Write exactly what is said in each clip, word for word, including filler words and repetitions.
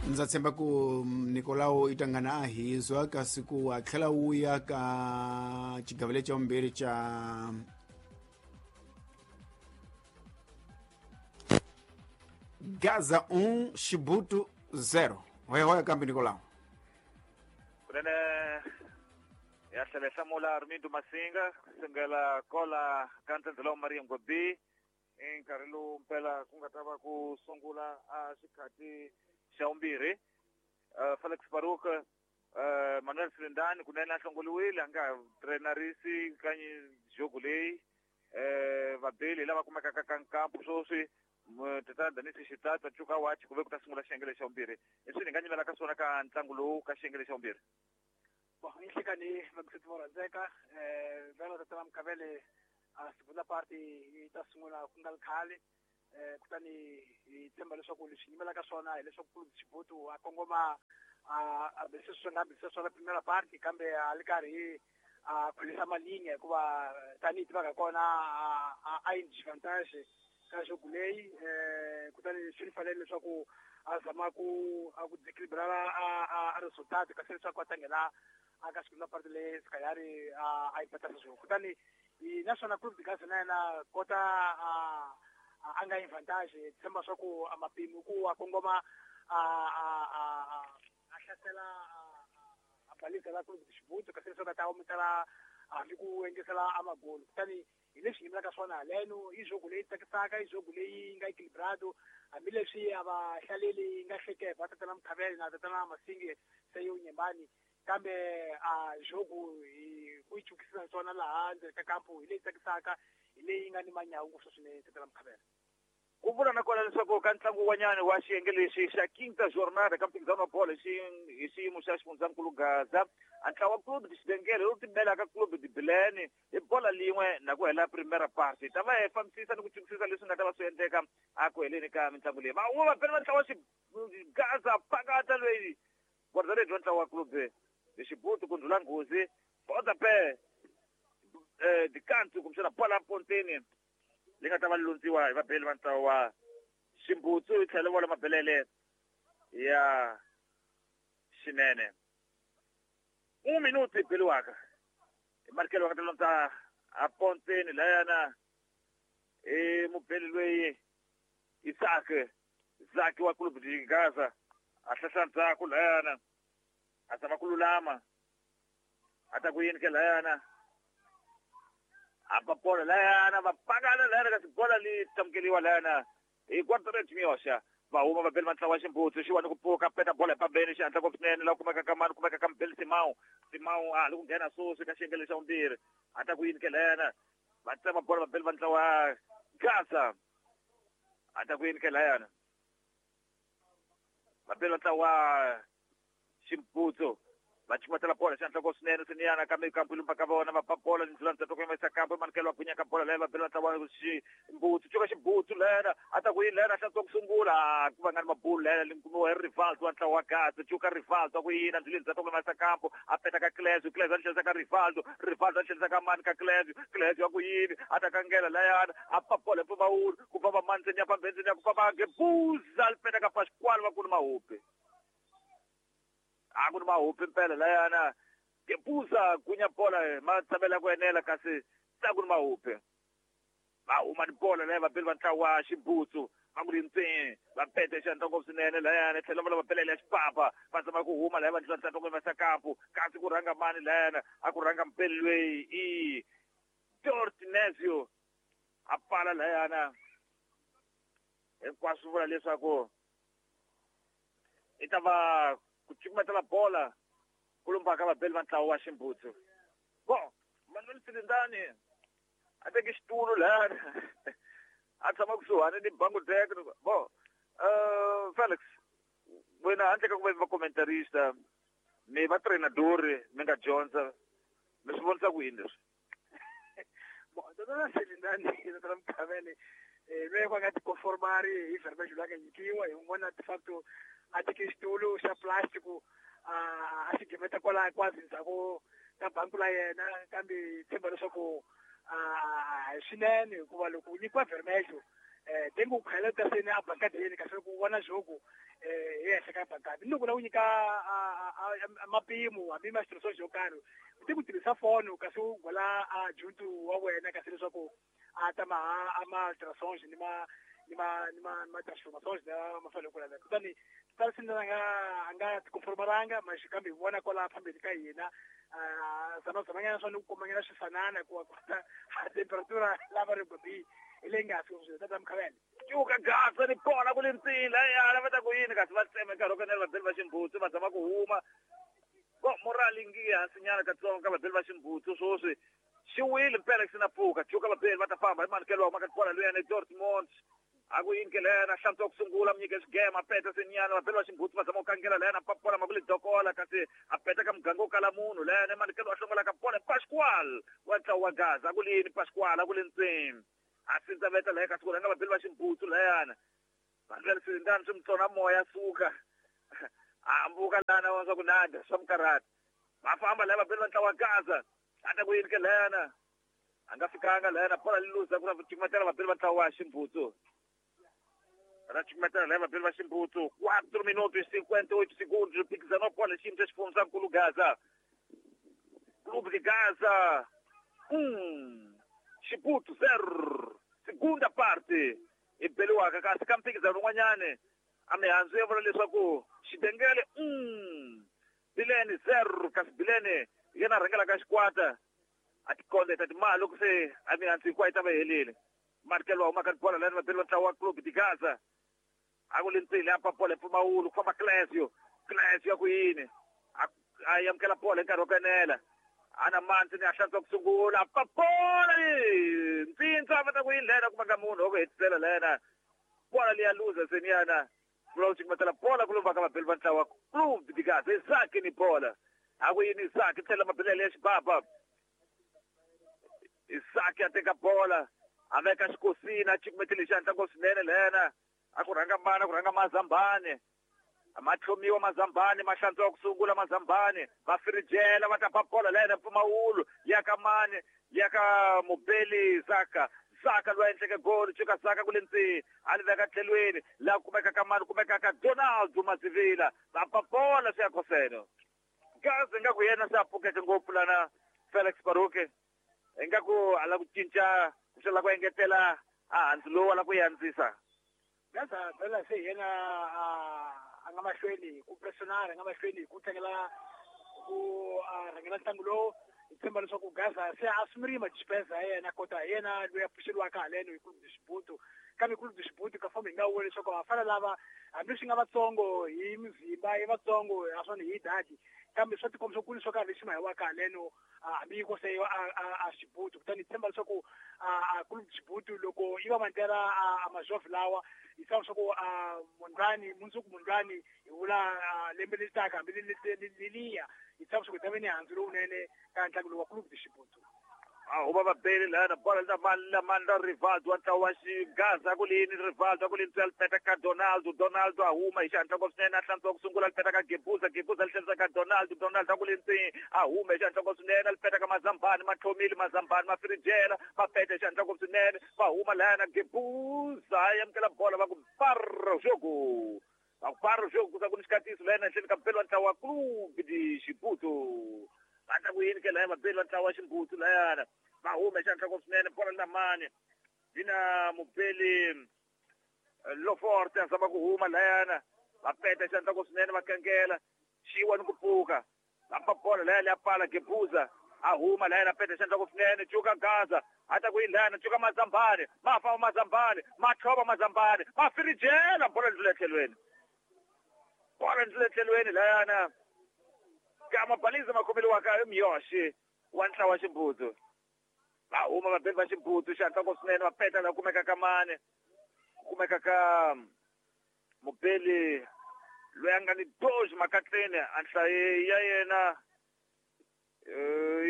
Ndza tshemba ku Nicolau i tangana a hizwa kasi ku a tlhela wuya ka xigavele xa vumbirhi xa Gaza um Chibuto zero. Hoya hoya kambe Nicolau. Kunene ya tlhela hlamula Armindo Masinga kusengela kola ka ntsendzela wa Maria Ngobi i nkarhi lowu mpela ku nga ta va ku sungula a xikhati xa vumbirhi. Felix Baruk, Manuel Silindani kunene a hlongoliwile a nga trenarisi ka jogo leyi. Vabeli lava kumekaka ka nkampu sweswi tatana Danisi Xitata Cuka Wachi ku ve ku ta sungula xiyenge xa vumbirhi. I swi ni nga nyimela ka swona ka ntlangu lowu ka xiyenge xa vumbirhi. Bon, inhlekani vakusethi vo rhandzeka um vhela tata va Mkhavele a segunda parte yi ta sungula ku nga ri khale. um kutani hi tshemba leswaku leswi yimelaka swona hileswaku Clube Chibuto a kongoma a bese swi nga bese swona primera parte kambe a li karhi a khulisa malinga hikuva tanihi tivaka kona a yi disadvantage ka jogo leyi. um kutani swi ni fanele leswaku a zama ku a ku desequilibrar a a resultado kasi leswaku a ta nghena a ka segunda parte leyi Sikayari a a yi patasa swona. Kutani naswona Clube de Gaza na yena kota a a nga advantage tshemba swa ku a mapimi ku a kongoma a a a a hlasela a balisa la Clube de Chibuto kasi leswaku a ta ometela hambi ku engesela a magolo. Kutani hi leswi yimelaka swona haleno i jogo leyi tsakisaka, i jogo leyi nga equilibrado hambileswi a va hlaleli nga hlekeva tatana Mkhavele na tatana Masinge se yo nyembani kambe a jogo hi ku yi chukisisa swona laha ndzeni ka kampu hi leyi tsakisaka, hi leyi nga ni manyawu ngopfu swinene tatana Mkhavele. Ku vula na kona leswaku ka ntlangu wun'wanyana wa xiyenge lexi xa Quinta Jornada ka mphikizano wa bolo hi xiyimo xa xifundzankulu Gaza, a ntlawa wa Clube de Xibengele lowu timelaka Clube de Bilene hi bola lin'we na ku hela primera parte. Ta va hi fambisisa ni ku chukisisa leswi nga ta va swi endleka a ku heleni ka mitlangu leyi. Va va vapeli va ntlawa Gaza phakata loyi guarda-redes wa ntlawa wa Clube de Chibuto ku ndlhula nghozi potape eh dikantu kumbexana bola ponteni leyi nga ta va londziwa hi vabeli va ntlawa wa Ximbutsu yi tlhela vola mabelele ya xinene. Un minuto beliwaka hi marikelo va nga ta londza a ponteni layana i mubeli loyi Isaac Zaki wa Clube de Gaza a hlahla ndzhaku layana a zama ku lulama a ta ku yini ke layana a ba bola layana va pakana layana kasi bola li tamukeliwa layana hi guarda-redes Miyoxa. Va huma vabeli va ntlawa wa Ximbutsu xiwani ku pfuka peta bola hi pambeni xihatla ngopfu swinene laha kumeka ka mani kumeka ka mubeli Simao. Simao a ha li ku nghena sweswi ka xiyenge xa vumbirhi a ta ku yini ke layana va tsema bola vabeli va ntlawa wa Gaza a ta ku yini ke layana vabeli va ntlawa wa Ximbutsu va chumatela bola xihatla ngopfu swinene swiniyana kambe kampu lumba ka vona va ba bola ndlela ndzhaku ku yimisa kampu manikelo wa gwinya ka bola leyi vabeli va ntlawa Ximbutsu cuka Ximbutsu lena a ta ku yini lena hlantswa ku sungula ku va nga ni mabulu lena li kumiwa hi Rivaldo wa ntlawa wa Gaza cuka Rivaldo a ku yini ndlela ndzhaku ku yimisa kampu a peta ka Clesio Clesio a tlhelisa ka Rivaldo Rivaldo a tlhelisa ka mani ka Clesio Clesio a ku yini a ta kangela layana a pa bola hi mpfumawulo ku famba mani ndzeni ya pambeni ndzeni ya ku famba Gebuza li peta ka Pasquale va ku ni mahupi a ku ni mahupi mpela layana Gebuza gunya bola ma tshamela ku enela kasi ta ku ni mahupi va huma ni bola leyi vabeli va ntlawa wa Ximbutsu va ku ri ntsee va pete xandla ngopfu swinene layana tlhela va lava belele ya xipapa va zama ku huma laya va ndlela ntsata ku yimisa kampu kasi ku rhanga mani layana a ku rhanga mpeli loyi i Dortinezio a pfala layana hinkwaswo vula leswaku i ta va ku cukumetela bola ku lumbaka vabeli va ntlawa wa Ximbutsu. Bon, Manuel Silindani a teke xitulu layana a tshama kusuhani ni bangu deck. Bon, uh, Felix wena handle ka ku va va commentarista mi va treinadori mi nga dyondza mi swi vonisa ku yini leswi? Bon, tatana Silindani tatana Mkhavele loyi va nga tikonformari hi verbiage loyi a nga nyikiwa hi n'wana de facto a teke xitulu xa plastic a a xi gimeta kwala kwazi ndzhaku ka banku la yena kambe tshemba leswaku a hi swinene hikuva loko u nyikiwa vermelho eh tengo ku khaleta sene a bankadeni kasi ku vona jogo eh hi henhla ka bankadi ni loko la ku nyika mapimo hambi ma xitirhisiwa xo karhi u te ku tirhisa foni kasi u gola a juntu wa wena kasi leswaku a ta ma a ma alterações ni ma ni ma ni ma ma transformações la ma fanele ku laveka kutani tala sine a nga a nga tikonformalanga ma kambe hi vona kwala phambili ka hina zama zamanyana swa ni ku komanyana swifanana ku kota temperatura lava ri gobi hi leyi nga fiki swilo tata Mkhavele cuka Gaza ni kona ku le ntsila ya va ta ku yini kasi va tsema nkarhi wo kanela vabeli va ximbutsu va zama ku huma bo morali ngi hansi nyana katsongo ka vabeli va ximbutsu swoswi xi wile mpela xi na pfuka cuka vabeli va ta famba hi manikelo wa maka kona luyani Dortmund a ku yini ke lena hlantswa ku sungula munyike xigema peta senyana vabeli va ximbutsu va zama ku kangela lena papola ma ku le dokola kasi a peta ka muganga wo kala munhu lena manikelo wa hlongola ka pona Pascual wa ntlawa wa Gaza a ku lini Pascual a ku le ntsini a sindza veta laha kasi ku rhanga vabeli va ximbutsu layana vandlela swindani swi mutsona moya suka a hambuka lana wa swa ku nada swa mukarhata va famba laya vabeli va ntlawa wa Gaza a ta ku yini ke lena a nga fikanga lena bola li luza ku na cukumetela vabeli va ntlawa wa ximbutsu ra cukumetela laya vabeli va ximbutsu quatro minutos e cinquenta e oito segundos mphikizano wa bola xiyimo xa xifundzankulu Gaza Clube de Gaza um Xibutu zero segunda parte i beliwaka kasi ka mphikizano wun'wanyani a mihandzu ya vula leswaku Xidengele um Bilene zero kasi Bilene hi yena a rhangelaka xikwata a tikondeta timali loko se a mihandzu hinkwayo yi ta va helile manikelo wa humaka bola lani vabeli va ntlawa wa Clube de Gaza a ku le ntsini a papola hi mpfumawulo ku famba Clesio Clesio ya ku yini a amukela bola hi nkarhi wo kanela ana manzi ni a hlantswa ku sungula papola ntsintsa va ta ku yini lena kuma ka munhu wa ku hetisela lena bola leya luza seniyana vula ku cukumetela bola ku lomba ka vabeli va ntlawa Clube de Gaza Isaki ni bola a ku yini Isaki tlhela mabelele ya xibaba Isaki a teka bola a veka xikosini a cukumetele xandla ngopfu swinene lena a ku rhanga mana ku rhanga Mazambane ma tlhomiwa Mazambane ma hlantswa ku sungula Mazambane va firijela va ta ba bola lena mpfumawulo ya ka mani ya ka mubeli Zaka Zaka loyi a endleke golo cuka Zaka ku le ntsini a li veka tlhelweni laha kumeka ka mani kumeka ka Donaldo Mazivila va ba bola swi ya koseno Gaza ingaku yena se a pfukeke ngopfu lana Felix Baruke ingaku a lava ku cinca ku la ku engetela a handzu lowu a lava ku yi andzisa Gaza phela se yena a nga mahlweni ku pressionara a nga mahlweni ku tlangela ku rhangela ntlangu lowu hi tshemba leswaku Gaza se a sumiri madispensa ya yena kota hi yena loyi a pfuxeriwaka haleno hi Clube de Xibutu kambe Clube de Xibutu ka fomo hi nga vula leswaku va fana lava hambileswi nga vatsongo hi mizimba i vatsongo naswona hi dadi kambe swa tikomba ku ni swo karhi lexi ma hi waka haleno hambi yi kose a Xibutu kutani hi tshemba leswaku a Clube de Xibutu loko yi va mandlela a majovhi lawa hi tshemba leswaku mundlwani mundzuku mundlwani hi vula lembe leri taka hambi leliya hi tshemba leswaku hi ta va ni handzu lowunene ka ntlangu lowu wa Clube de Xibutu a huma vabeli lana bola la mani Rivaldo wa ntlawa wa Xigaza ku lini Rivaldo a ku lini li peta ka Donaldo Donaldo a huma hi xihatla ngopfu swinene a hlantswa ku sungula li peta ka Gebuza Gebuza li tlherisa ka Donaldo Donaldo a ku lini ntsini a huma hi xihatla ngopfu swinene li peta ka Mazambani ma tlhomile Mazambani ma firijela ma peta hi xihatla ngopfu swinene va huma lana Gebuza a amukela bola va ku para jogo va ku para jogo ku sa ku ni xikatiso lena ehenhleni ka mpelo wa ntlawa wa Clube de Xibutu va ta ku yini ke laya vabeli va ntlawa wa ximbutsu layana va huma hi xihatla ngopfu swinene bola na mani yi na mubeli Loforte a zama ku huma layana va peta hi xihatla ngopfu swinene va kangela xiwa ni ku pfuka va pa bola laya leya pala Gebuza a huma layana peta hi xihatla ngopfu swinene cuka Gaza a ta ku yini layana cuka Mazambane ma famba Mazambane ma tlhova Mazambane ma firijela bola ndlula etlhelweni bola ndlula etlhelweni layana ka mabaliza ma khomeliwaka i Miyoshi wa ntlawa wa ximbutsu va huma vabeli va ximbutsu xihatla ngopfu swinene va peta laha kumeka ka mani kumeka ka mubeli loyi a nga ni doji makatleni a nhlayo ya yena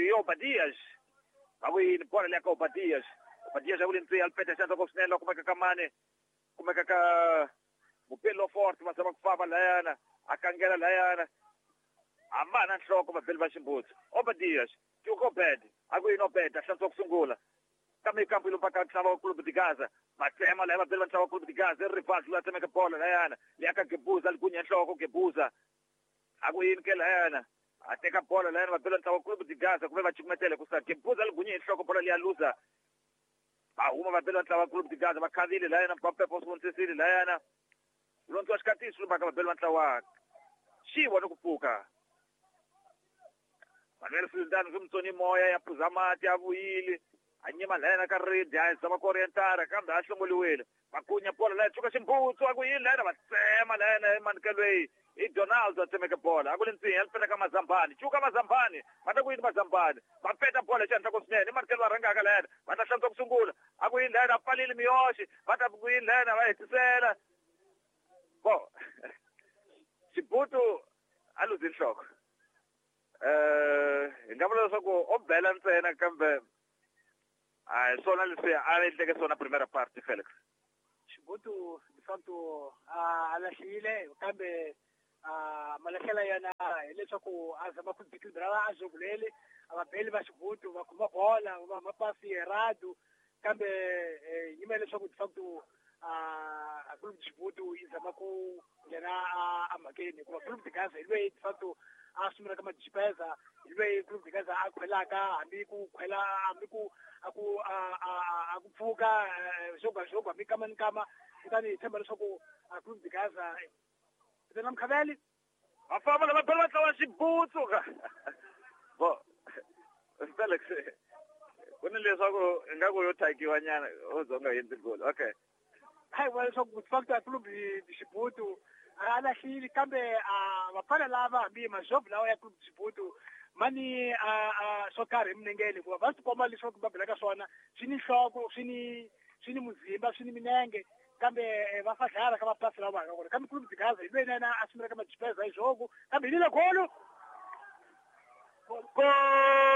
i Obadias va ku yini bola leya ka Obadias Obadias a ku le ntsini a li peta xihatla ngopfu swinene laha kumeka ka mani kumeka ka mubeli wa Forte va zama ku famba layana a kangela layana a ma na nhloko vabeli va ximbutsu Obadias cuka Obed a ku yini Obed a hlantswa ku sungula kambe kampu yi lombaka ntlawa wa Clube de Gaza Vatsema laya vabeli va ntlawa Clube de Gaza Rivaldo la tsemeka bolo layana leyi ka Gebuza ligunya nhloko Gebuza a ku yini ke layana a teka bolo layana vabeli va ntlawa Clube de Gaza kumbe va cukumetele ku sa Gebuza ligunya nhloko bolo leya luza va huma vabeli va ntlawa Clube de Gaza va khavile layana Papepo swi layana lontswa xikatiso lubaka vabeli va ntlawa xiwa ni ku pfuka Manuel Sultan swi mutsoni moya ya phuza mati ya vuyile a nyima layana ka ridi a zama ku orientara kambe a hlongoliwile vakunya bola laya tshuka ximbutsu a ku yini layana va tsema layana emanukelweyi i Donald a tsemeke bola a ku le ntsinya li peta ka Mazambani tshuka Mazambani va ta ku yini Mazambani va peta bola hi xihatla ku swinene emanikelo va rhangaka layana va ta hlantswa ku sungula a ku yini layana a pfalile miyoxi va ta ku yini layana va hetisela bo Xibutu a luzi nhloko eh hi nga vula leswaku o bela ntsena kambe a hi swona leswi a endleke swona primera parte Felix Xibutu de facto a lahlile kambe a malahlela yena hileswaku a zama ku deequilibrara a jogo leli a vabeli va Xibutu va khoma bola va mapasi errado kambe yima leswaku de facto a Clube de Xibutu yi zama ku nghena a mhakeni hikuva Clube de Gaza hi lweyi de facto a sungulaka majipeza hi lweyi Clube de Gaza a khwelaka hambi ku khwela hambi ku a ku a ku pfuka jogo a jogo hambi kama ni kama kutani hi tshemba leswaku a Clube de Gaza na Mkhaveli va famba lava bela va tlawa Xibutsu bo Felix ku ni leswaku ingaku yo thakiwa nyana o zonga yendzi goli okay hayi vula leswaku de facto a Clube de Xibutu a lahlile kambe a vafana lava hambi majogo lawa ya Clube de Xibutu mani a swo karhi eminengeni hikuva va swi komba leswaku va belaka swona swi ni nhloko swi ni swi ni muzimba swi ni minenge kambe va fadlala ka mapasi lawa va kona kambe Clube de Gaza hi lweyi na yena a sungulaka majipeza hi jogo kambe hi lile golo gol